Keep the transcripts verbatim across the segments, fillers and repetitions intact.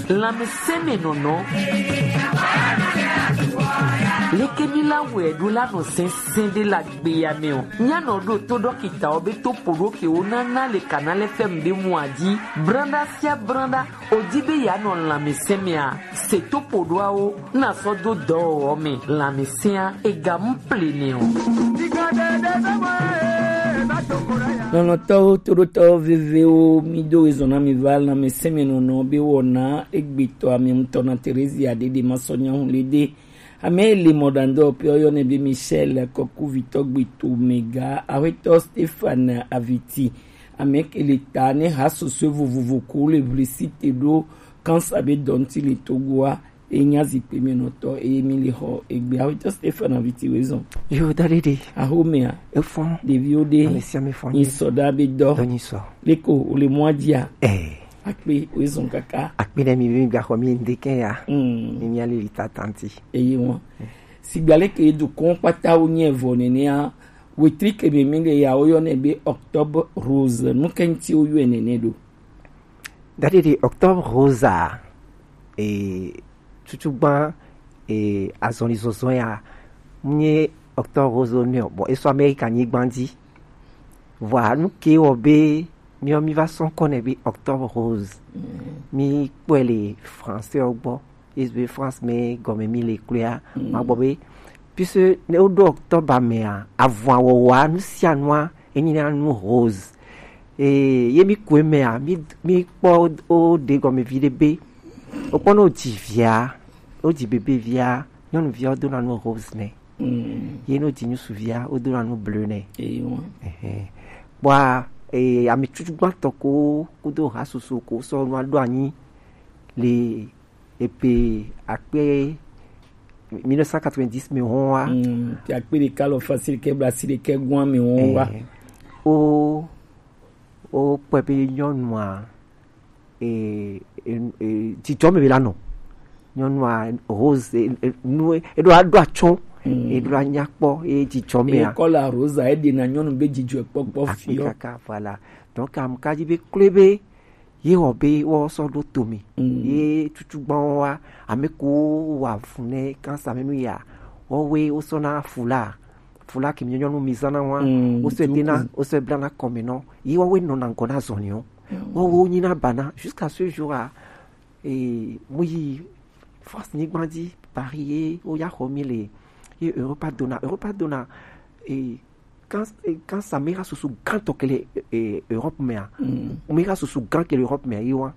Lanmɛsɛnmɛnɔnɔ. Leke mi la wɛ ɖo la nɔ sɛnsɛn ɖe la gbe ya mɛ o. Nya nɔ ɖo to dɔkita o be to poɖo ke wo na na le kana lɛ fɛm be mu aji. Branda sia branda. O di be ya nɔ lanmɛsɛn mɛ a, se to poɖoawo na sɔ do dɔwɔwɔ mɛ. Lanmɛsɛn a, e ga mu ple nɛ o. Lɔlɔ̃tɔwo, toɖotɔwo vevewo, mi do ezɔn na mi va lanmɛsɛnmɛnɔnɔ be wɔna egbetɔ ame ŋutɔ na Terezia ɖeɖe ma sɔ nyahu le ɖe. Ame le mɔɖaŋdɔ pe oyɔ ne be Michel Kɔkuvitɔ gbeto mega, Awetɔ Stefan Aviti, ame ke le ta ne ha sosɔe vovovo ko le vlisi te ɖo kansa be dɔnti le Togoa. Enya zikpui mi nɔtɔ eye mi le xɔ egbe. Awetɔ Stefan Aviti wezɔn. Yo, da ɖeɖe. Axomea? Efɔn. Ɖeviwo ɖe? Ame sia ame fɔn. Nyi sɔ ɖa be dɔ. Dɔ nyi sɔ. Leko, o le mɔa dzia? Eh. Akpe, wezɔn kaka. Akpe ɖe mi be mi gaxɔ mi ŋdeke ya. Mm. Mi mia lili tatanti. Eye wɔn. Sigba leke do kɔn kpata wo nye vɔ nenea, wetri ke mi mi le ya wo yɔ ne be Octobre Rose. Nu ke ŋti wo yɔe nene ɖo? Daɖiɖi Octobre Rose a, e, tutu gban, e, azɔli zɔzɔ ya, nye Octobre Rose ne o. Bon, e sɔ Amerika nyigban dzi. Vɔa, nu ke wɔ be miɔ mi va sɔ ŋkɔ nɛ be Octobre Rose. Mm. Mi kpɔe le français ɔ gbɔ. Ye be France mɛ gɔme mi le kloea. Mm. Ma gbɔ be, puisque ne woɖo Octobre mɛa, avɔa wɔwɔa, nu sia nua, enyi na nu rose. E, ye mi kue mɛa, mi, mi kpɔ o ɖe gɔme vi ɖe be, o kpɔ ne o dzi via, o dzi bebe via, nyɔnuvia o dona nu rose nɛ. Mm. Ye ne o dzi ŋutsuvia, o dona nu bleu nɛ. Eyi wɔn. Ɛhɛn. Bɔa, e, ame tutu gbãtɔ ko kudo ha soso ko sɔ nua ɖo anyi le ebe akpe mille neuf cent quatre-vingt-dix mɛ hɔn wa. Mm, pe akpe ɖeka lɔ facile ke bla si ɖekɛ gɔn mɛ hɔn wa. Eh, o, o kpɔe be nyɔnua, e, e, e, dzidzɔ mɛ be la nɔ. Nyɔnua rose, e, e, nu, e ɖo aɖo atsɔ, mm, e ɖo anya kpɔ, e dzidzɔ mɛ a. E kɔla rose a, e ɖe na nyɔnu be dzidzɔ kpɔkpɔ fiɔ. Akpe kaka, voilà. Donc, am ka dzi be kloe be, ye wɔ be wɔ sɔ ɖo to mi. Mm. Ye tutu gbɔn wa, ame ko wa fu ne kansa mɛ nu ya. Wɔ we wo sɔ na fula. Fula ke mi nyɔnu mi zana wa. Mm, wo sɔ dena, wo sɔ blana kɔme nɔ. Ye wɔ we nɔ na ŋkɔ na zɔnni o. Mm. Wɔ wo nyi na bana jusqu'à ce jour a. E, mu yi France nyigban dzi, Paris ye wo ya xɔ mi le. Ye Europa dona, Europa dona, e, Kan, kan sa mera susu gãtɔ ke le, e, Europe mea. Mm. Mera susu gã ke le Europe mea, ye wa.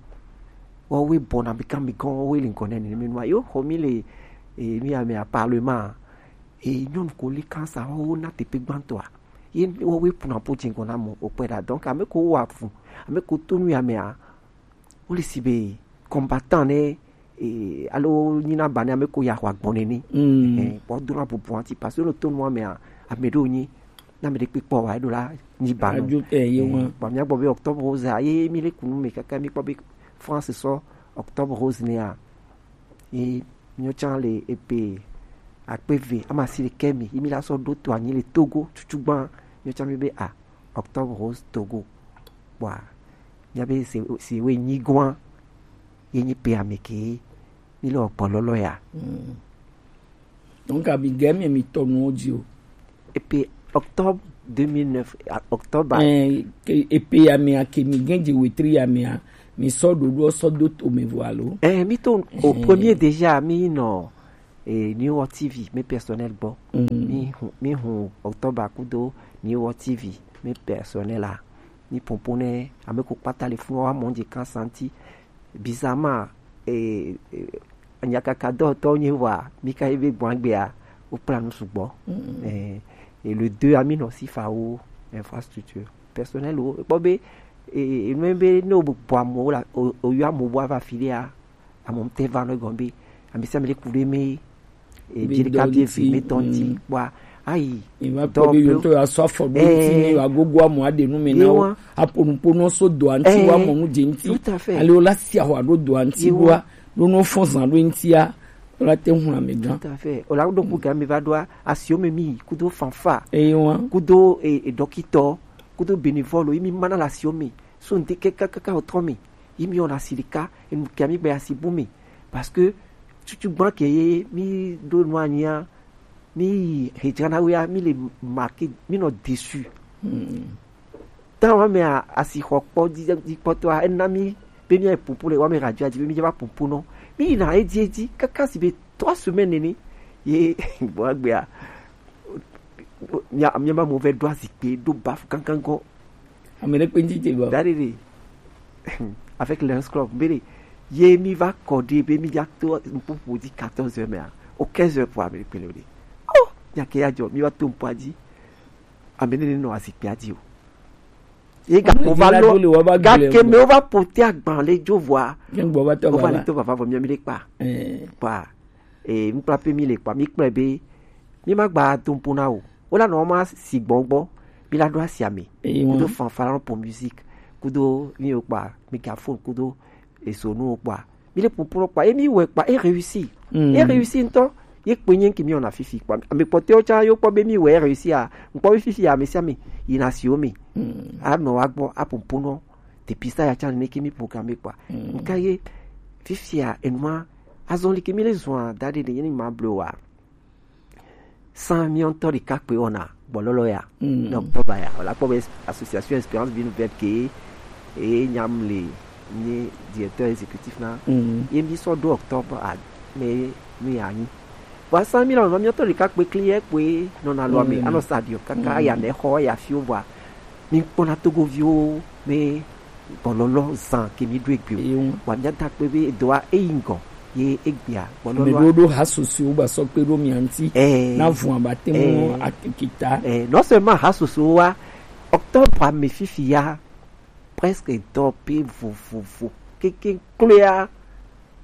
Wa we bɔ na mi kan mi kan, wa we le ŋkɔ nɛ ne mi nua. Yo, xɔ mi le, e, mi ame a parlement. E, nyɔnu ko le kan sa, wa wo na tepe gbãtɔa. Ye wa we puna po jingɔ na mo, o kpɛ da. Donc, ame ko wa fu, ame ko tonu ya mea. Wo le si be combattant ne, e, alo nyina ba ne ame ko ya xɔ agbɔn nɛ ni. Mm. Eh, bɔ dona bubu anti parce que no to nua mea, ame ɖewo nyi, na ame ɖe kpekpɔ wa, eɖo la nyi ba no. Adzo, eh, ye wa. Eh, bɔ mia gbɔ be Octobre Rose a, ye mi le kunu me kaka mi kpɔ be France sɔ Octobre Rose nea. Ye mi tsã le ebe akpe ve, ama si le kemi, ye mi la sɔ ɖo to anyi le Togo, tutu gbã, mi tsã mi be a, Octobre Rose Togo. Bɔa, mia be si, si we nyi gɔa, ye nyi pe ame ke, mi le ɔkpɔ lɔlɔ ya. Mm. Donc, abi ge mi, mi tɔ nuwo dzi o. Et puis, octobre deux mille neuf, a, octobre. Eh, ke, et puis, ya mi a ke mi gen dzi wetri ya mi a, mi sɔ ɖoɖo sɔ do to me vo alo? Eh, mi to au premier déjà, mi nɔ, eh, New World T V, mi personnel gbɔ. Mm. Mi hu, mi hu octobre kudo New World T V, mi personnel la. Mi popo ne, ame ko kpata le funu wa mɔ dzi kan santi. Bizarrement, eh, eh, nyakaka dɔtɔ nye wa, mi ka ebe gbɔn agbea, o plan nu sugbɔ. Mm. Eh, et le deux, ami nɔ si fa wo infrastructure. Personnel wo, kpɔ be, eh, eh, nu be ne o bɔ amewo la, o, o yɔ amewo ava fi ɖea, amewo te va nɔ gɔn be, ame sia ame le ku ɖe me, e, be dzi ɖeka dɔ vie ŋuti, vi me tɔ ŋuti, mm, kpɔa, ayi. Mi va kpɔ be yɔntɔ ya sɔ afɔ ɖo ŋuti, eh, mi va gogo amewo aɖe nu me na wo. Aƒo nuƒo nɔ so dɔa ŋuti, eh, wa mɔ nu dze ŋuti. Tout à fait. Ale wo la si ahɔ aɖo dɔa ŋuti wa, ɖo nɔ fɔn zan ɖo ŋutia, wo la te ŋu ame gã. Tout à fait. O la ɖo ku ga mi va ɖoa, asiwo me mi, kudo fanfa. Eye wa. Kudo, e, e, dɔkitɔ, kudo bénévole, yi mi mana le asiwo me. So ŋdi kaka, kaka, o trɔ mi. Yi mi wɔna asi ɖeka, enu ke mi gbe asi bu mi. Parce que tutu gbã ke ye mi ɖo nu anyia, mi yi hejana wea, mi le marqué, mi nɔ déçu. Hmm. Tan wa mea, asixɔ kpɔ dzi, dzi kpɔtɔa, ena mi be mi ayi pumpu le wa me radio dzi be mi va pumpu nɔ. Mi yina edzi edzi, kaka si be trois semaines nene. Ye, bon, agbea, mia, mia ma mo ve ɖo azikpe, ɖo bafu kankan gɔ. Ame ɖe kpe ŋtite bɔ. That is it. Avec Lions Club, mbele, ye mi va kɔ ɖe be mi dza to ŋƒoƒo dzi quatorze heures mea, o quinze heures po ame ɖe kpe le o ɖe. Oh, nya ke ya dzɔ, mi va to ŋƒoa dzi. Ame ɖe ne nɔ azikpea dzi o. Ye gakpo va lɔ, gake me wo va pote agban le dzo vɔa. Wo va le to vava vɔ mi mi ɖe kpa. Eh. Kpa. E, ŋkpla pe mi le kpa, mi kplɔe be mi ma gba do ŋpo na o. Wo la nɔ ma si gbɔn gbɔ, mi la ɖo asi ame. Kudo fanfare pour musique, kudo mi o kpa, mégaphone, kudo esonu o kpa. Mi le pumpu kpa, e mi wɛ kpa, e réussi. Mm. E réussi ŋtɔ. Ye kpe nye ŋke mi wɔna fifi kpa. Ame kpɔtɔewo tsã yo kpɔ be mi wɛ e réussi a. Ŋkpɔ be fifi ame sia ame yina si wo me. Mm. Anɔ wa gbɔ, apumpu nɔ. Dépistage ya tsã nene ke mi programme kpa. Mm. Ŋka ye fifia enua azɔli ke mi le zɔa da ɖe ɖe ye ni ma blewa. San mi ŋtɔ ɖeka kpe wɔna gbɔlɔlɔ ya. Mm. Donc, kpɔ ba ya, wala kpɔ be association Expérience Vie Nouvelle ke, e nyam le nye directeur exécutif na. Mm. Ye mi sɔ do octobre a, me mi anyi. Vɔ san mi la nɔ mi ŋtɔ ɖeka kpe kli ye kpe nɔna lɔ mi, mm, anɔ stadium kaka, mm, ya ne xɔ ya fiwo vɔa. Mi kpɔna Togoviwo me gbɔlɔlɔ zan ke mi ɖo egbe o. Eyo. Wa mi da kpe be edoa eyi ŋgɔ ye egbea gbɔlɔlɔ. Ame ɖewo ɖo ha susuwo ba sɔ kpe ɖo mia ŋti. Eh. Na vun abate mu, eh, atikita. Eh, non seulement ha susuwo wa, octobre ame fifi ya presque dɔ pe vovovo. Keke kloea,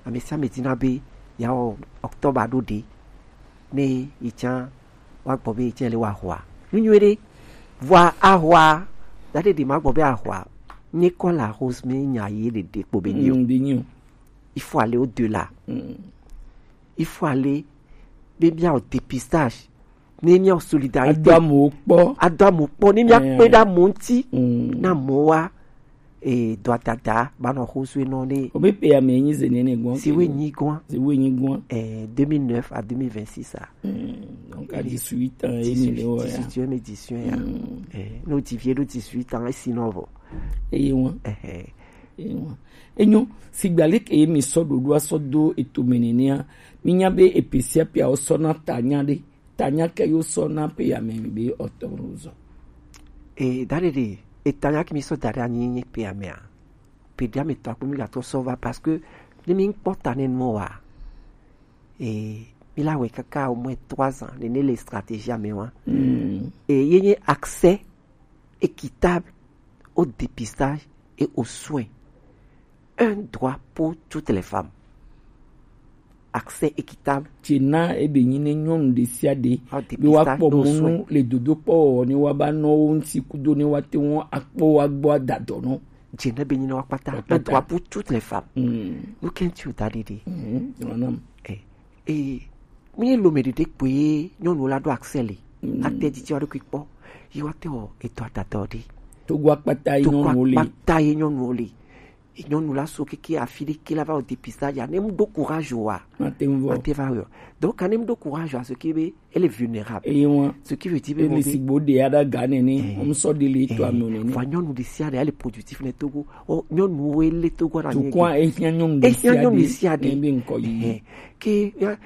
ame sia ame dina be ya wɔ octobre ɖo ɖe. Ne yi tsã wa gbɔ be yi tsã le wa hoa. Nu nyuie ɖe. Vɔa ahwa, da ɖe ɖe ma gbɔ be ahwa. Nye kɔ la rose me nya ye ɖe ɖe kpo be nyo. Mm, be nyo. Il faut aller au-delà. Mm. Il faut aller, be mia o dépistage. Ne mia o solidarité. Ado amewo kpɔ. Ado amewo kpɔ. Ne mia, eh, kpe ɖe amewo ŋti. Mm. Na amewo wa. E, dɔa dada ba nɔ xo sue nɔ ɖe. O be pe ame nyi ze nene gbɔn. Si we nyi gbɔn. Si we nyi gbɔn. E, deux mille neuf à deux mille vingt-six a. Hmm, donc à dix-huit ans, e ni le o ya. Dix-huit, dix-huit ans, ya. Hmm. E, no ti vie ɖo dix-huit ans, e si nɔ vɔ. Eye wọn. Ehe. Eye wọn. Enyo, sigba leke ye mi sɔ ɖoɖoa sɔ do eto me nenea, mi nya be epe sia pea wo sɔ na ta nya ɖe. Tanya ke yo sɔ na pe ya me be octobre zɔ. E, da ɖe ɖe, e tanya ke mi sɔ da ɖe anyi nye pe ya mea. Pe ɖe ame tɔ akpo mi ga tɔ sɔ va parce que ne mi kpɔ ta ne nɔ wa. E, mi la wɛ kaka au moins trois ans, ne ne le stratégie ame wa. Mm. E, ye nye accès équitable au dépistage et aux soins. Un droit pour toutes les femmes. Accès équitable. Tse na ebe nyi ne nyɔnu ɖe sia ɖe be woakpɔ mɔnu le dodokpɔ wɔwɔ ne woaba nɔ wo ŋuti kudo ne woate ŋu akpɔ woagbɔ adadɔ nɔ. Dze ne be nyi ne woakpata. Un droit pour toutes les femmes. Mm. Nu ke ŋuti o da ɖi ɖi. Mm. Eh, eh, mi lo me ɖeɖe kpoe nyɔnu la ɖo accès le. Mm. Ate didi wa ɖo kpɔ. Yi wa te o eto adadɔ ɖi. Togo akpata yi nyɔnu le. Togo akpata yi nyɔnu le. Nyɔnu la so keke afi ɖe ke la va wɔ dépistage ya, ne mu do courage wa. Mate ŋu vɔ. Mate va yɔ. Donc, quand ne mu do courage wa, ce qui veut, elle est vulnérable. Eye ŋua. Ce qui veut dire, ele sigbo de ya ɖa ga nene, eh, ŋu sɔ de le to, eh, ame nene. Vɔ nyɔnu ɖe sia ɖe, elle est productive ne Togo. O, nyɔnu wo ele Togo na mi. Tukua, ehia nyɔnu ɖe sia ɖe. Ehia nyɔnu ɖe sia ɖe. Ne be ŋkɔ yi. Eh, ke, ya,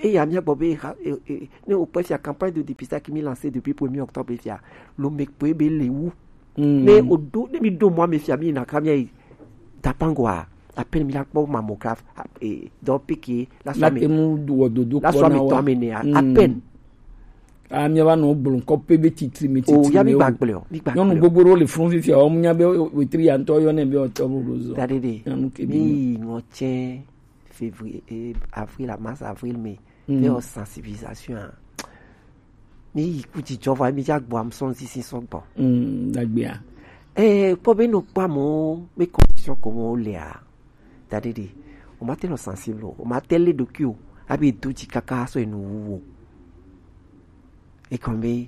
eya mia gbɔ be, ha, eh, eh, ne o kpɔ fia campagne de dépistage qui mi lancé depuis premier octobre fia. Lo me kpoe be le wu. Mm. Ne o do, ne mi do mɔ ame fia mi na ka mi ayi Dapango a, à peine mi la kpɔ mammographe, a, e, dɔ pique la so ame. La te mu wɔ dodo kpɔ na wa. La so ame tɔ ame ne a, à peine. A mi va nɔ gblɔ ŋkɔ pe be titri mi titri. O ya mi gba gblɔ, mi gba gblɔ. Nyɔnu gbogbo ɖewo le fun fifia, o mu nya be wetri ya ŋutɔ yɔ ne be o tɔ bo zɔ. Da ɖe ɖe. Nyɔnu ke bi. Mi ŋɔ tsɛ février, eh, avril, à mars, avril, mai. Mm. Fɛ o sensibilisation a. Mi yi ku dzidzɔ vɔ, mi dza gbɔ am sɔn sisi sɔgbɔ. Mm, dagbea. Eh, kpɔ be no kpɔ amewo, be condition ko mo le a. Da ɖe ɖe. O ma te nɔ sensible o, o ma te le ɖokui o, abi do dzi kaka sɔ enu wu o. E kɔn be,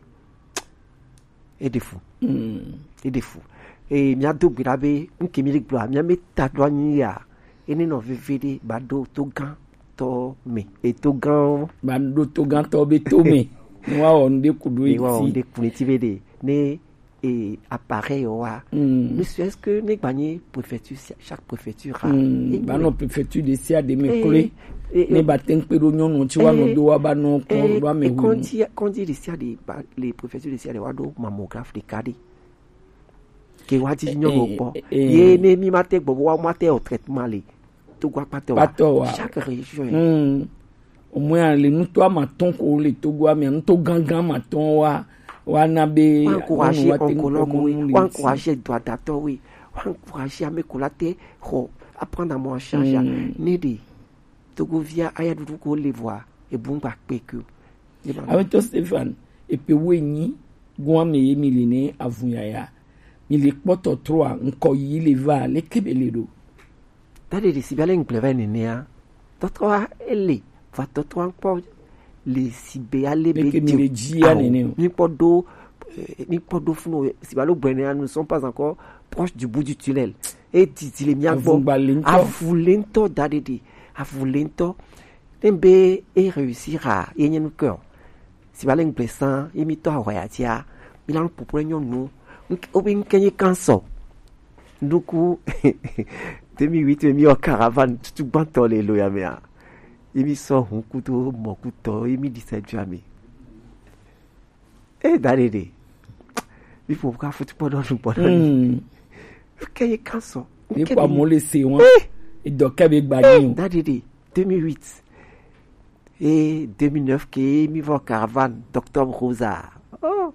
e ɖe fu. Mm. E ɖe fu. E mia do gbe ɖa be nke mi le gblɔ a mia me ta ɖo anyi ya. Ene nɔ veve ɖe ba ɖo to gã tɔ me. E to gã. Ba ɖo to gã tɔ be to me. Ni wa wɔ nu ɖe ku ɖo eti. Ni wa wɔ nu ɖe ku ɖo eti be ɖe. Ne e appareil wa. Mm. Ne serait-ce que ne gba nye préfecture, chaque préfecture a. Mm. Ba nɔ préfecture de sia de me kle. Ne ba te ŋkpe ɖo nyɔnu tsi wa nɔ do wa ba nɔ kɔ ɖo ame hu. Kɔndzi kɔndzi de sia de ba le préfecture de sia de wa ɖo mammographe de ka de. Ke wa ti nyɔnu kpɔ. Ye ne mi ma te gbɔ wa ma te o traitement le. Togo akpatɔ wa. Kpatɔ wa. Chaque région. Mm. Au moins le nuto amatɔn ko le Togo amia nuto gangan amatɔn wa wa na be wa encourager oncologue we wa encourager doadatɔ we wa encourager ame ko la te xɔ apprendre à mon charge ne de Togo via aya dudu ko le voa ebungba kpeke. Ametɔ Stefan, epe wo enyi gɔn ame ye mi le ne avun yaya mi le kpɔtɔ troa nkɔ yi le va le kebe le ɖo. Daɖe ɖe si be ale ŋgble va yi nenea, tɔtrɔa ele va tɔtrɔa ŋkpɔ le si be ale be dzi o. Mi kpɔ ɖo mi kpɔ ɖo funu si be alo gblɔ nea nous sommes pas encore proche du bout du tunnel. E didi le mia gbɔ. Avu le ŋutɔ. Avu le ŋutɔ daɖe ɖe avu le ŋutɔ. Ne be e réussir a ye nye nu ke o. Si va le ŋgble sã ye mi tɔ ahɔya tia mi la nu popo ɖe nyɔnu. Wobe ŋke nye kansɔ. Nuku deux mille huit mi yɔ caravane tutu gbãtɔ le lo ya mea. Ye mi sɔ hun kudo mɔ kutɔ ye mi di sɛ dua mi. E daɖe ɖe. Mi ƒo ka futu kpɔ ɖɔ nu kpɔ ɖɔ ni. Ŋke nye kansɔ. Mi kpɔ mo le se wọn. Edɔ kɛ be gba ni o. Daɖe ɖe. Deux mille huit. Et deux mille neuf ke mi vɔ caravane d'octobre rosa. Oh.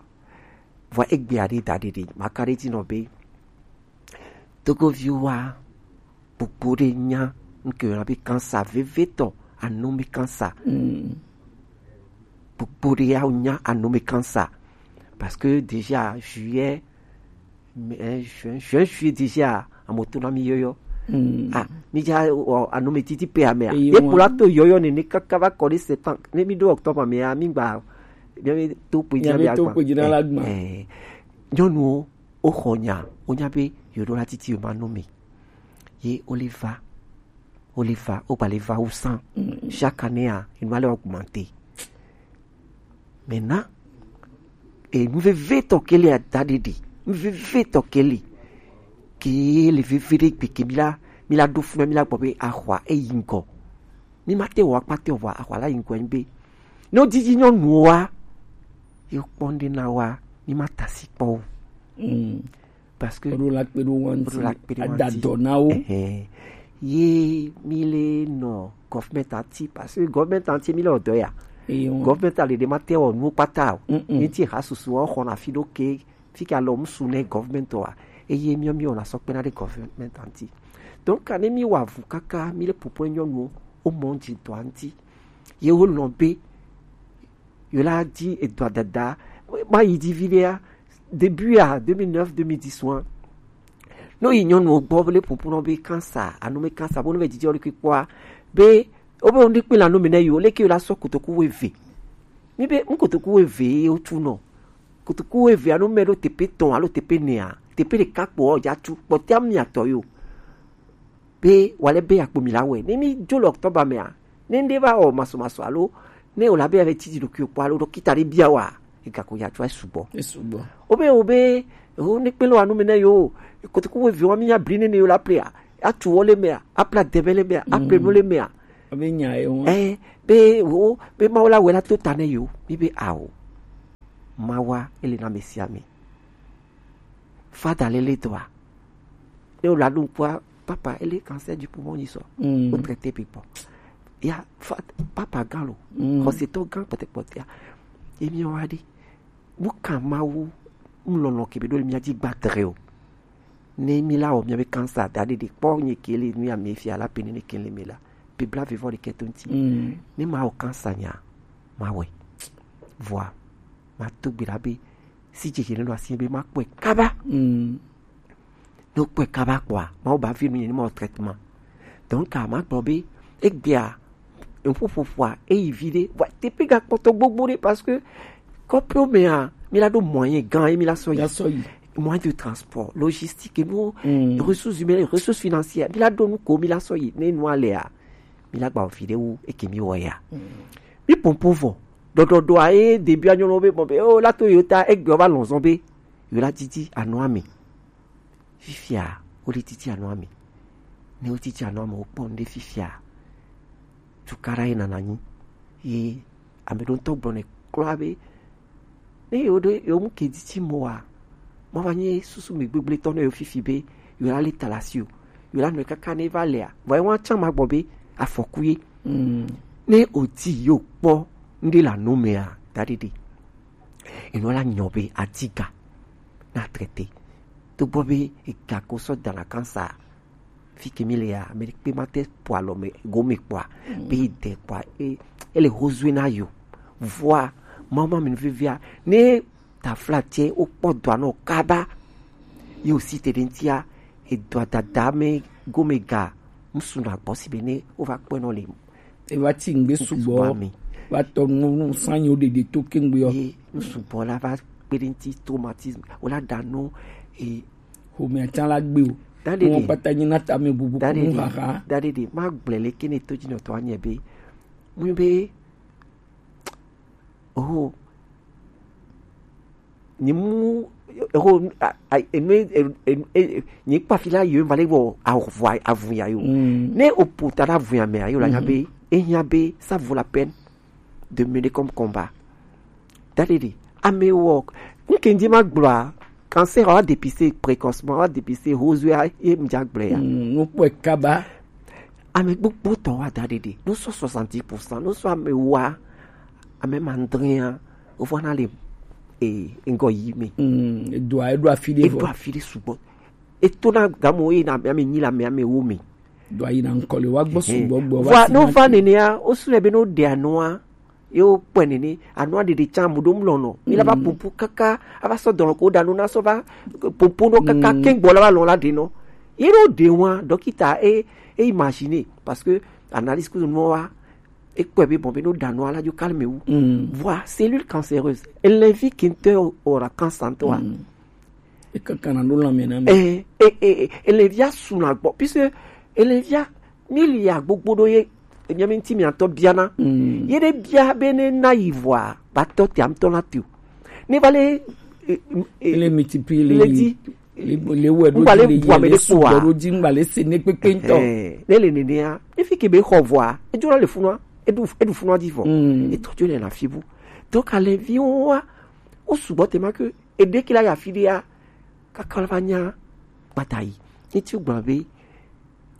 Vɔ egbea ɖe daɖe ɖe maka ɖe dzi nɔ be togoviwo wa gbogbo ɖe nya ŋke yɔna be kansa vevetɔ anome kansa. Gbogbo ɖe ya nya anome kansa parce que déjà juillet, juin, juillet déjà amoto na mi yɔyɔ. Ah, mi ja o anome titi pe amea ye kpola to yɔyɔ nene kaka va kɔ ɖe septembre ne mi ɖo octobre amea mi gba mi to kpe dzi amea gba. Nyɔnuwo woxɔ nya wonya be yeɖo la titi yo ma nome. Ye wole va wole va wogba le va wu sã. Chaque année a enu ale augmenter. Maintenant, enu vevetɔ ke le ada ɖeɖe enu vevetɔ ke le ke le veve ɖe gbeke mi la mi la ɖo funa mi la gbɔ be axɔa eyi ŋgɔ. Mi ma te wɔ akpate o vɔ axɔa la yi ŋgɔ be ne wodidi nyɔnuwo wa ye kpɔ ŋɖe na wa mi ma ta si kpɔ o. Parce que woɖo la kpe ɖo wo ŋuti ada dɔ na wo. Ye mi le nɔ government anti parce que government anti mi le ɔdɔ ya. Government ale ɖe ma te wɔ nuwo kpata o. Mi ti ha susu wa xɔ na fi ɖo ke fi ke alɔ musu ne government wa eye mi mi wɔ na sɔ kpe na ɖe government anti. Donc ne mi wa vu kaka mi le popo nyɔnuwo o mɔ dzi dɔ anti ye wo lɔ be yo la di edɔa dada ma yi di vi ɖea début a deux mille neuf deux mille dix wan. Ne yi nyɔnuwo gbɔ le popo nɔ be kansa anome kansa bo ne be didi ɔli kpikpɔa be wo be wo ne kpe la nome ne yo leke yo la sɔ kotoku wo eve. Mi be n kotoku wo eve ye wo tu nɔ kotoku wo eve anome ɖo tepe tɔn alo tepe nea tepe ɖeka kpɔ ɔdza tu kpɔtea miatɔ yo. Be wale be akpo mi la wɛ ne mi dzo le octobre mea ne nde va wɔ maso maso alo ne o la be ave titi ɖokui kpɔ alo ɖɔkita ɖe bia wa ega ko ya tsɔ esugbɔ. Esugbɔ. Wo be wo be wo ne kpe lo anu me ne yo kotoku wo vi wa mi ya bli ne ne yo la plea atu wo le mea apla debe le mea apla no le mea. Abe nya ye wo. Eh be wo be ma wo la wɛ la to ta ne yo mi be awo. Ma wa ele na mesia mi. Fada lele dɔa ne wòle aɖo ŋkua papa ele cancer du poumon yi sɔ. Wo traité bi kpɔ ya fa papa gã lo xɔsetɔ gã kpɔtɛkpɔtɛa ye mi wa ɖi. Mu kan mawu mu lɔlɔ kebe ɖo le mia dzi gba dre o. Ne mi la wɔ mia be cancer da ɖe ɖe kpɔ nye ke le nu ya mi fia la pe ne ne ke le mi la pe bla vivɔ ɖe kɛ to ŋti. Ne ma wɔ cancer nya ma wɛ vɔa ma to gbe ɖa be si dzedze ne ɖo asi be ma kpɔe kaba. Ne wokpɔe kaba kpɔa mawu ba vi nu nye ne ma wɔ traitement. Donc a ma gblɔ be egbea ŋƒoƒoƒoa eyi vi ɖe vɔa teƒe gakpɔtɔ gbogbo ɖe parce que kɔƒewo mea mi la ɖo moyen gã ye mi la sɔ yi. moyen de transport, logistique, et nous, ressources humaines, ressources financières. Mi la ɖo nu ko, mi la sɔ yi ne nua lea, mi la gba ofi ɖe wu eke mi wɔ ya. Mi pompo vɔ. Ɖɔɖɔɖɔ a ye début a nyɔnɔ be bon be o la to yo ta egbe va lɔzɔn be yo la titi anɔ ami. Fifia, wo le titi anɔ ami. Ne wo titi anɔ ami, wo kpɔ nu ɖe fifia. Tukara ye nana nyi. Ye ame ɖo ŋutɔ gblɔ ne kura be ne yewo ɖo yewo mu kedi ti mo wa, mo va nye susu mi gbegble tɔ ne yewo fifi be yewo la le talasi o, yewo la nɔ kaka ne va lea, vɔ yewo atsa ma gbɔ be afɔku ye. Ne o ti yewo kpɔ ŋɖe la no mea, da ɖeɖe. Enɔ la nyɔ be adiga na traité. To gbɔ be ega ko sɔ dana kansa. Fi ke mi le ya, ame ɖekpe ma te po alɔ me gome kpɔa, be yi de kpɔa, e, ele hozue na yo. Vɔa, mama mi vivia, ne tafla tse o kpɔ dɔa nɔ kaba, ye o si te ɖe ŋtia, e dɔa dada me gome ga, ŋsu na gbɔ si be ne o va kpɔe nɔ le. E va ti ŋgbe sugbɔ, va tɔ nu sanyi o ɖeɖe to kengbe yɔ. Ye ŋsu bɔ la va kpe ɖe ŋti traumatisme, o la da no, e Xomɛ atsa la gbe o. Daɖeɖe. Wọn kpata nyi na tame bubu kunu haha. Daɖeɖe. Ma gblɔe le kene to dzi nɔtɔ anye be. Mu be. Oh. Nyi mu. Oh. Enu. Nyi kpafi la yo va le wɔ avu ya yo. Ne o po ta ɖe avu ya me a yo la nya be. E nya be ça vaut la peine de mener comme combat. Daɖeɖe, ame wɔ, nke ndi ma gblɔa, cancer wa dépister précocement, wa dépister hozue ye mdza gblɔ ya. Mm, no kpɔe kaba. Ame gbogbo tɔ wa daɖeɖe, no sɔ soixante-dix pour cent, no sɔ ame wa, ame mandria, o fɔ na le, e, ŋgɔ yi me. Mm, edoa, edo afi ɖe vɔ. Edo afi ɖe sugbɔ. Eto na gamo ye na ame nyi la ame, ame wo me. Do ayi na ŋkɔ le wa gbɔ sugbɔ gbɔ. Vɔa no va nenea, o su le be no ɖe anua, ye o kpɔe nene, anua ɖeɖe tsa mu ɖo mlɔ nɔ. Mi la va pupu kaka, a va sɔ dɔlɔ ko ɖa no na sɔ va pupu no kaka ke gbɔ la va lɔ la ɖe nɔ. Ye no ɖe wa, dɔkita e, e imaginer, parce que analyse ku no wa, e kpɔe be bon be no ɖe anua la dzo calme wu. Vɔa cellule cancéreuse, elle invite kintɔ ora cancer ntɔ wa. Ekakana ɖo lãme na mi. Eh, eh, eh, eh, elevia su na gbɔ, puisque elevia mi lia gbogbo ɖo ye, enya mi ŋti mi atɔ biana. Ye ɖe bia be ne na yi vɔa, ba tɔ te amtɔ na te o. Ne va le, eh, eh, le multiplier le di. Le wɛ ɖo le bu ame ɖe kpoa. Ɖo di ŋgba le se ne kpekpe ŋtɔ. Eh, ne le nenea, ne fi ke be xɔ vɔa, edzo la le funua, eɖu, eɖu funua di vɔ. Etɔ dzo le na fi bu. Donc, aleviwo wa, o sugbɔ te ma ke Eɖeki la yi afi ɖea, kaka la va nya gbata yi. Ŋti gblɔ be,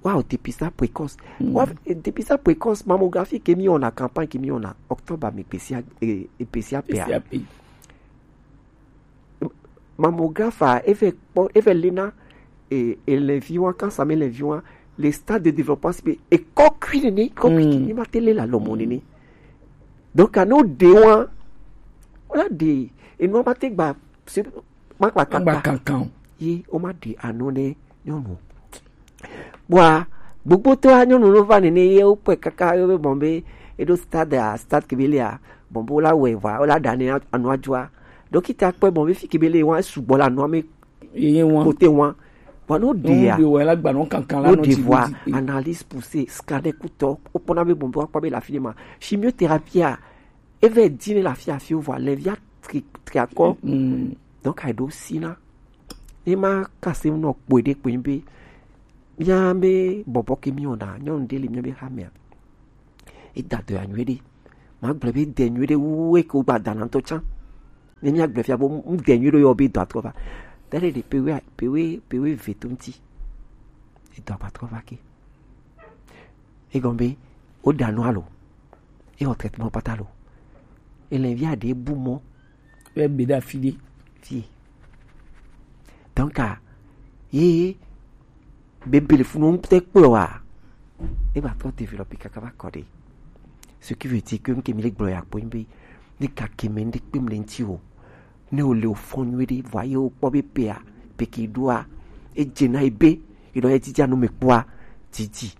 wa o dépistage précoce. Wa, eh, dépistage précoce, mammographie ke mi wɔna, campagne ke mi wɔna, octobre me pesia, eh, eh, pesia pea. Pesia pe. Mammographe a, eve kpɔ, eve lena, eh, eh, le vi wa, cancer me le vi wa, le stade de développement si be, e kɔ kui nene, kɔ kui nene, ma te le la lɔmɔ nene. Donc, a no de wa, wala de, e no ma te gba, se, ma gba kankan. Ye, o ma de anu ne nyɔnu. Bua, gbogbo to a nyɔnu no va nene ye o pe kaka yo be bon be, e do stade a, stade ke be le a, bon bo la we va, o la da ne anu a joa. Dɔkita kpɔe bon be fi ke be le wa sugbɔ la no me. Ye wa. Kote wa. Bon, no de a. No de wa la gba no kankan la no de ti wa. Analyse poussée, scanner kutɔ, o pona be bon bo akpɔ be la fi ma. Chimiothérapie a, Eve dine le afi afi wo vɔ alevia tri, tri akɔ. Donc, aɖo si na. Ne ma kase nɔ kpɔe ɖe kpɔe be, mía be bɔbɔ ke mi wɔna, nyɔnu ɖe le mía be hamea. Eda dɔ ya nyuie ɖe. Ma gblɔ be de nyuie ɖe wu eke wo gba dana ŋutɔ tsã. Ne mía gblɔ fia bo, ŋde nyuie ɖe yɔ be dɔ atrɔ va. Da ɖe ɖe pewe, pewe, pewe ve to ŋuti. Edɔ atrɔ va ke. Egɔme be, wo ɖa nu alo, ewɔ traitement kpata lo, ele via ɖe bu mɔ. Be be ɖe afi ɖe. Fie. Donc, a, ye, be be le funu ŋutɛ kplɔ wa. E va trɔ développer kaka va kɔ ɖe. Ce qui veut dire que ŋke mi le gblɔ ya kpɔ be, ne gake me ŋɖe kpem le ŋti o. Ne o le o fɔ nyuie ɖe, vɔa ye o kpɔ be pea, pe ke ɖoa, e dze na ebe, e ɖo ye didi anu me kpɔa, didi.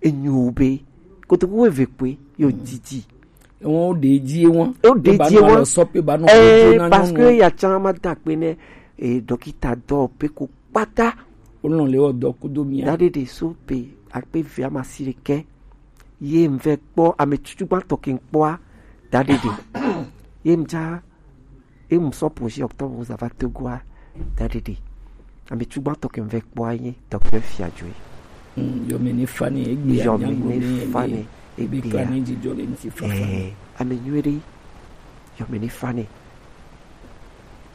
E nyo be, kotoku wo eve kpɔe, yo didi. Ewo ɖe dzi ewo. Ewo ɖe dzi ewo. Sɔ pe ba nɔ. Eh, parce que ya tsa ma da kpe ne, e dɔkita dɔ pe ko kpata. Wonɔ le wɔ dɔ kudo mia. Daɖeɖe so pe akpe ve amasi ɖekɛ. Ye ŋvɛ kpɔ ame tutugbãtɔ ke ŋkpɔa. Daɖeɖe. Ye ŋdza, ye ŋsɔ projet Octobre Rose ava Togoa. Daɖeɖe. Ame tutugbãtɔ ke ŋvɛ kpɔa ye docteur Fiajoe. Mm, yɔme ne fa ne egbe. Yɔme ne fa ne egbe. Ame nyuie ɖe. Yɔme ne fa ne.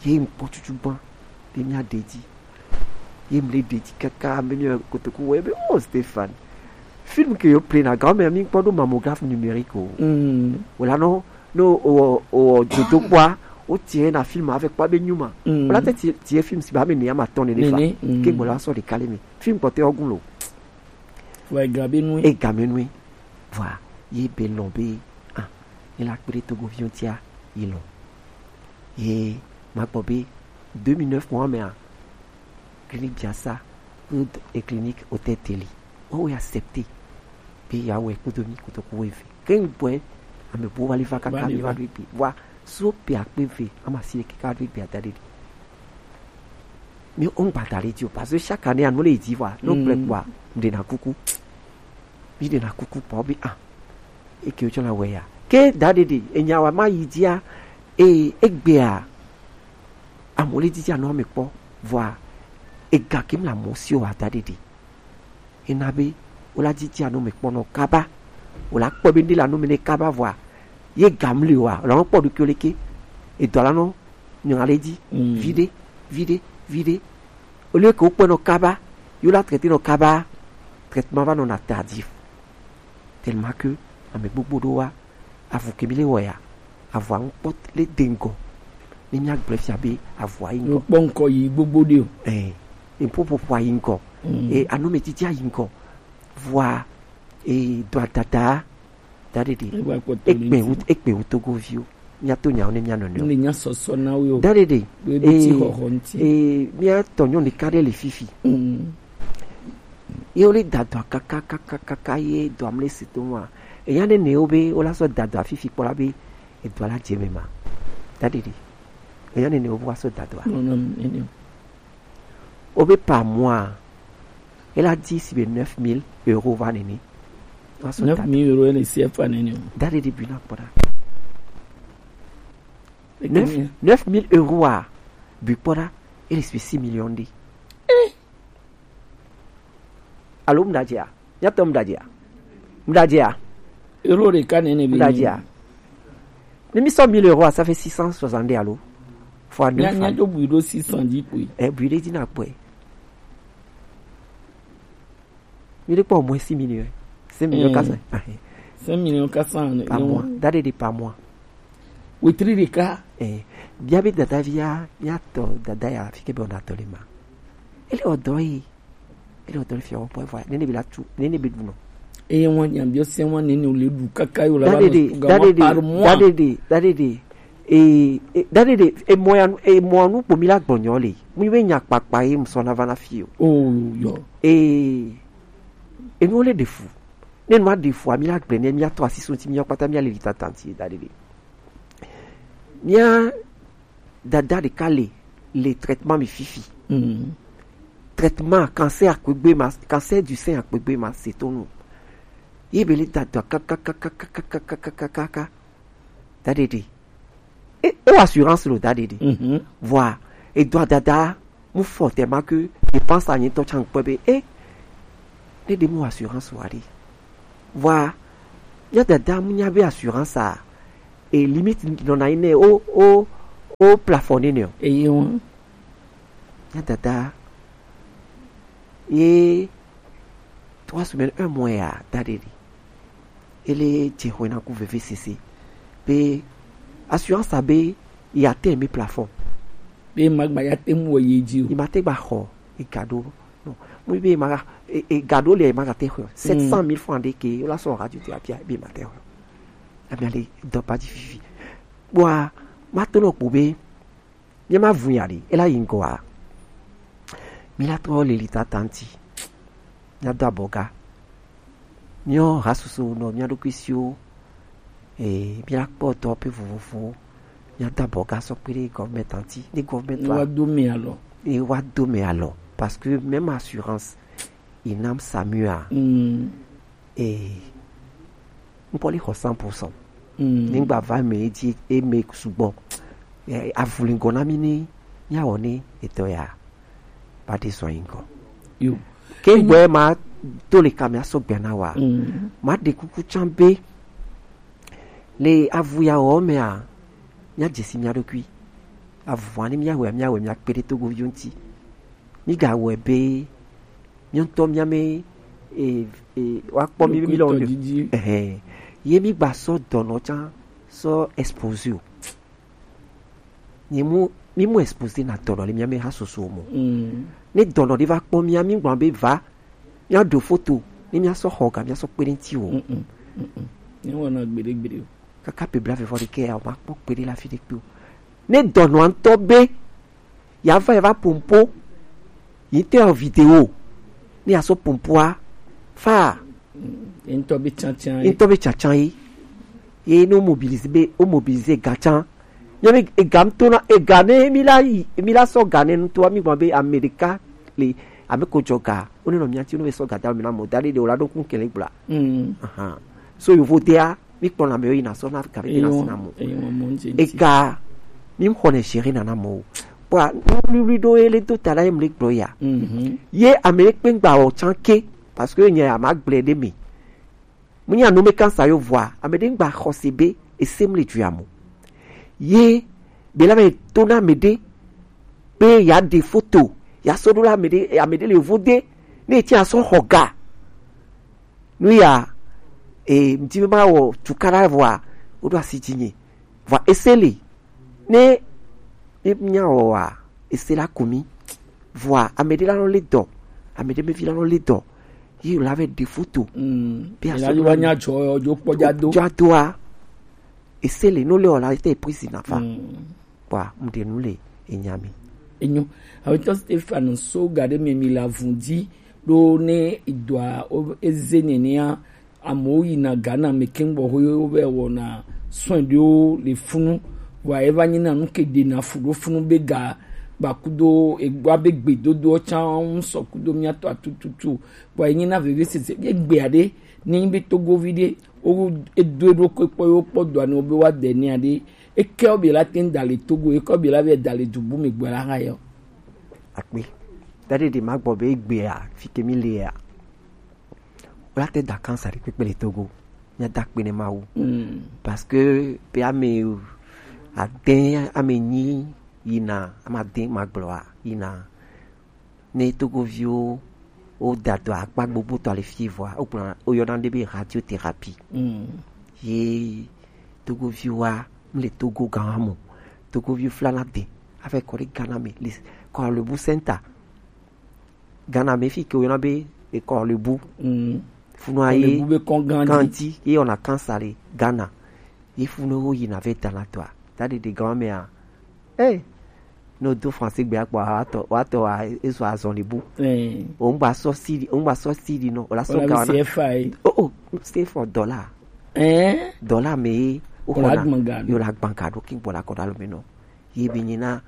Ye ŋkpɔ tutugbã ɖe mia ɖe dzi. Ye mle ɖe dzi kaka ame nyuie kotoku wɔ ebe, oh Stéphane. Film ke yo play na ga me mi kpɔ ɖo mammographe numérique o. Mm. Wala no no o o jodo kpɔa. O tie na film avec kpɔ be nyuma. Mm. Wala te tie film si ba me ne ama tɔn ne fa. Ke gbɔla sɔ de kale me. Film kpɔ te ogun lo. Wa ga be nu. E ga me nu. Voilà. Ye be lɔn be, ah, ye la kpe ɖe Togoviwo ŋutia, ye lɔn. Ye ma gbɔ be deux mille neuf mois mea, clinique Biasa kple clinique Hôtel Télé, woawo accepté be yeawɔe kpodo mi kotoku wuieve. Ke ŋgbɔe ame bubu va li va kaka mi va ɖo egbe. Vɔa, so pe akpe ve, ama si le kaka ɖo egbe ada ɖeɖi. Mi o ŋgba da ɖe dzi o, parce que chaque année, anu le yi dzi vɔa, ne wogblẽ kpɔa, miɖena kuku. Miɖena kuku kpɔ be, ah, eke wotsɔ la wɛ ya. Ke da ɖeɖi, enya wa ma yi dzia, eye egbea, amewo le dzidzi anɔ ame kpɔ, vɔa, ega ke mla mɔ si o wa da ɖeɖi. Ena be, wola dzidzi anɔ me kpɔ nɔ kaba, wola kpɔ be ŋɖe le anɔ me ne kaba vɔa, ye ga mli wa, wola nɔ kpɔ ɖokuiwo leke, edɔ la nɔ nyɔ ale dzi, viɖe, viɖe, viɖe. Au lieu que wokpɔe nɔ kaba, ye wola traité nɔ kaba, traitement va nɔna tardif. Tellement que ame gbogbo ɖo wa, avu ke mi le wɔ ya, avua ŋkpɔ le de ŋgɔ. Ne mia gblẽ fia be avua yi ŋgɔ. Ŋkpɔ ŋkɔ yi gbogbo ɖe o. Eh, ŋpoƒoƒoa yi ŋgɔ. Mm. Eh, anɔmetsitsia yi ŋgɔ. Vɔa, eh, dɔa dada, da ɖeɖi. Egba kpɔtɔ le ekpe ŋuti. Wu-, ekpe wu Togoviwo. Mia to nyawo ne mia nɔnɔewo. Ne nya sɔsɔ na wo. Da ɖeɖi. Be be ti eh, xɔxɔ ŋuti. Eh, mia tɔ nyɔnu ɖeka ɖe le fifi. Mm. Ye wo le da dɔa kaka, kaka, kaka, ye dɔa mle si to wa. Eya ne ne wo be, wo la sɔ da dɔa fifi kpɔ la be, edɔa la dze me ma. Da ɖeɖi. Eya ne ne wo be wa sɔ da dɔa. Non, non, non, non. Wo be par mois, e la di si be neuf mille euros va nene. Wa sɔ da dɔa. Neuf mille euros, ele si efa nene o. Da ɖeɖi bi na kpɔ ɖa. Neuf, neuf mille euros a, bi kpɔ ɖa, ele si be six millions ɖe. Eh. Alo mu da dze a? Mia tɔ mu da dze a? Mu da dze a? Euro ɖeka nene bi. Mu da dze a? Ne mi sɔ mille euros a, ça fait six cent soixante alo. Fois neuf. Mia, mia do bui ɖo six cent dix kpui. Eh, bui ɖe dzi na kpɔe. Mi ɖe kpɔ au moins six millions. Cinq millions quatre cents. Eh. Cinq millions quatre cents par mois. Da ɖeɖi par mois. Wetri ɖeka. Eh, bia be dada via, mia tɔ dada ya, fi ke be ona tɔ le ma. Ele o dɔ yi. Ele o dɔ le fia o pɔ vɔ. Nene be la tu, nene be du no. Eye wan nya bio se wan nene o le du kaka yo la. Da ɖeɖi, da ɖeɖi, par mois. Da ɖeɖi, da ɖeɖi. E, e, da ɖeɖi, e mɔ ya nu, e mɔ nu kpo mi la gbɔnyɔ le. Mu be nya kpakpa ye mu sɔ na va na fi o. Oh, yo. E, e nu le de fu. Ne nua ɖe fua, mi la gblẽ ne mia tɔ asi so ŋuti, mia kpata mia le li tata ŋuti da ɖeɖi. Mia dada ɖeka le, le traitement mi fifi. Mm. Traitement cancer akpegbe ma, cancer du sein akpegbe ma se to nu. Ye be le da dɔa kaka, kaka, kaka. Da ɖeɖi. E, e wa assurance lo da ɖeɖi. Mhm. Vɔa, edɔa dada, mu fɔ tellement que dépense a nyitɔ tsan kpɔe be, e, ne ɖe mu assurance wa ɖe. Vɔa, mia dada mu nya be assurance a, e limite nɔna yi nɛ o, o, o plafond nɛ o. Eye ŋu. Mia dada, ye trois semaines, un mois ya, da ɖeɖi. Ele dze xɔe na ku vevesese. Be assurance a be, il atteint mi plafond. Be magba ya te mu wɔ ye dzi o. Il ma te gba xɔ, e ga ɖo. Non. Mu be ma, e, e ga ɖo le ma ga te xɔ. Sept cent mille francs de ke, la sɔ radio te apia, be ma te xɔ. Ami ale dɔ pa dzi fifi. Bua, ma to nɔ kpo be, mia ma vu ya ɖi, ela yi ŋgɔa. Mi la trɔ le li tata ŋuti. Mia do abɔga. Mia ha susu nɔ mia ɖokui siwo. E, mia kpɔ dɔ pe vovovowo. Mia da bɔ ga sɔ kpe ɖe gɔvmɛnti ŋuti, ne gɔvmɛnti wa do mi alɔ. Ne wa do mi alɔ, parce que même assurance, il n'am Samuel. Mm. Et ŋkpɔ li xɔ cent pour cent. Mm. Nigba va me edzi eme sugbɔ. Eh, avulingɔ na mi ni mia wɔ ni etɔ ya. Ba de zɔn yin kɔ. Yo. Ke gbɛ ma to le ka mia sɔ gbɛ na wa. Mm. Ma de kuku can be. Le avu ya wɔ mea, mia dzesi mia ɖokui. Avua ni mia wɛ, mia wɛ, mia kpe ɖe Togo viwo ŋuti. Mi ga wɛ be, mia ŋutɔ mia me, e, e, wa kpɔ mi mi lɔ ɖe. Ɛhɛn. Ye mi gba sɔ dɔnɔ can, sɔ exposé o. Nye mu, mi mu exposé na dɔnɔ le mia me ha soso mo. Mm. Ne dɔnɔ ɖe va kpɔ mia, mi gblɔ be va, mia ɖo foto, ne mia sɔ xɔ ga, mia sɔ kpe ɖe ŋuti o. Mm, mm, mm, mm. Ni wɔna gbeɖe gbeɖe o. Kaka pe bla vevɔ ɖe ke ya, o ma kpɔ kpe ɖe la fi ɖe kpe o. Ne dɔnɔ ŋutɔ be, ya va, ya va pompo, yi te o vidéo, ne ya sɔ pompoa, fa. Mm, ŋutɔ be tsantsan ye. Ŋutɔ be tsantsan ye. Ye ne o mobiliser be, o mobiliser ga can. Mia be ega ŋutɔ na, ega ne mi la yi, mi la sɔ ga ne ŋutɔ, mi gblɔ be ame ɖeka le, ame ko jɔ ga, o ne nɔ mia ŋuti, o ne be sɔ ga da mi na mo, da ɖe ɖe o la ɖo kun kele gbla. Mm. Ahan. So yovo dea, mi kpɔ na me yi na sɔ na ka be de na si na mo. Eyi wɔn, eyi wɔn mo ŋuti ŋuti. Ega, mi xɔ ne gérer na na mo. Kpɔa, nu wluiwlui ɖo ye le do ta la ye mu le gblɔ ya. Mhm. Ye ame ye kpe ŋgba wɔ can ke, parce que nye a ma gblɛ ɖe mi. Mu nya nu me kansa yo vɔa, ame ɖe ŋgba xɔse be ese mu le dua mo. Ye be la be to na ame ɖe be ya ɖe foto, ya sɔ ɖo la ame ɖe, ame ɖe le yovo de, ne eti asɔ xɔ ga. Nu ya, e, ŋdi me ma wɔ tukala vɔa, o ɖo asi dzi nye. Vɔa ese le. Ne, ne mia wɔa, ese la ku mi. Vɔa, ame ɖe la nɔ le dɔ. Ame ɖe me vi la nɔ le dɔ. Ye la vɛ ɖe foto. Mm. Be la asɔ yi wa nya dzɔ, dzo kpɔ dza do. Dza doa. Ese le, no le o la, ete prison na fa. Mm. Kpɔa, ŋɖe nu le enya me. Enyo. Awetɔ Stefano so ga ɖe me mi la vundi ɖo ne idɔa o eze nenea. Amewo yina Ghana me keŋ bɔ ho wo vɛ wɔna soin ɖewo le funu. Vɔa eva nyina nu ke ɖena fu ɖo funu be ga ba kudo egba be gbedodoɔ can ŋu sɔ kudo mia tɔ tututu. Vɔa enyina vevesese ye gbea ɖe ne nyi be Togovi ɖe wo edo ɖo ko kpɔ yo kpɔ dɔa ne wo be wa de nia ɖe. Eke wo be la te ŋda le Togo, eke wo be la be da le dubu me gbe la ha yɔ. Akpe. Da ɖe ɖe ma gbɔ be egbea, fi ke mi le ya. Wo la te da kansa ɖe kpekpe le Togo. Mia da kpe ne Mawu. Mm. Parce que pe ame ade, ame nyi yina, ame ade ma gblɔa, yina. Ne Togoviwo wo da dɔ akpa gbogbo tɔ le fi vɔa, wo gblɔ, wo yɔna ɖe be radiothérapie. Mm. Ye Togoviwoa, mu le Togo gan mo. Togoviwo flana de. Afɛ kɔ ɖe Ghana me, le Korle-Bu Center. Ghana me fi ke wo yɔna be e Korle-Bu. Mm. Funua ye Korle-Bu be kɔn gan di. Gan di, ye wɔna kansa le Ghana. Ye funu wo yina vɛ dana tɔa. Ta ɖeɖe gan mea. Eh. No do français gbe akpɔ wa tɔ, wa tɔ wa eso azɔn le bu. Eh. O ŋgba sɔ sidi, o ŋgba sɔ sidi no. O la sɔ ga ona. O, o, stay for dollar. Eh? Dollar me o la gbanka. Yo la gbanka do king bola koda lo me no. Ye be nyina,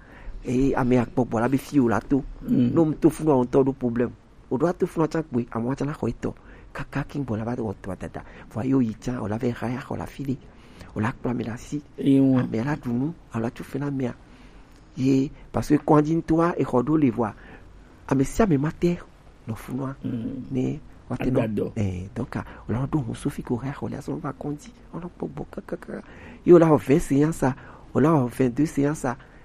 eh, ame akpɔ gbɔ la be fi o la to. Mm. No mu to funu o ŋutɔ ɖo problème. O ɖo ato funu atsa kpoe, ame atsa na xɔ etɔ. Kaka king bola va wɔ tɔ dada. Vɔ yo yi tsa, o la vɛ xa ya xɔ la fi ɖe. O la kpla ame la si. Ewa. Ame la ɖu nu, alo atsu fe na amea. Ye, parce que kɔndzi ŋutɔa, exɔ ɖo le vɔa. Ame sia ame ma te nɔ funua. Mm. Ne wa te nɔ. Agbadɔ. Eh, donc, ah, o la ɖo hun sofi ko xa xɔ la sɔ va kɔndzi. O la kpɔ gbɔ kakaka. Ye o la wɔ vingt séances, o la wɔ vingt-deux séances.